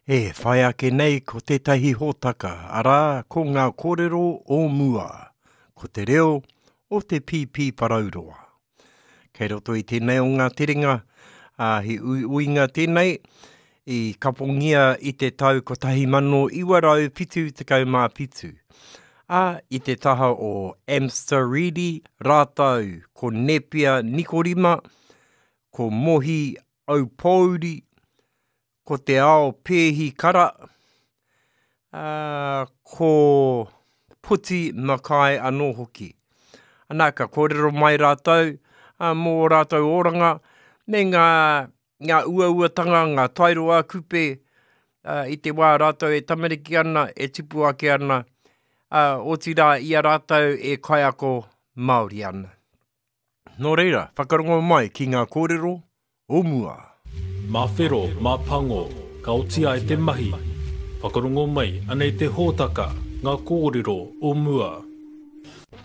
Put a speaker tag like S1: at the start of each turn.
S1: E whai ake nei ko tētahi hōtaka, arā, ko ngā kōrero o mua, ko te reo o te Pīpīwharauroa. Kei roto i tēnei o ngā terenga, ā, he uiuinga tēnei, i kapongia i te tau 1977, ā, i te taha o Amster Reedy rātou ko Nepia Nikorima, ko Mohi Aupōuri, ko Te Ao Pēhi Kara, ā, ko Poti Mackay anō hoki. Ana, ka kōrero mai rātou mō ō rātou oranga me ngā, ngā uauatanga, ngā tairo ā-kupe i te wā rātou e tamariki ana, e tipu ake ana, ā, otirā i a rātou e kaiako Māori ana. Nō reira, whakarongo mai ki ngā kōrero o mua.
S2: Mā whero, mā pango, ka oti ai te mahi. Whakarongo mai, anei te hōtaka, ngā kōrero o mua.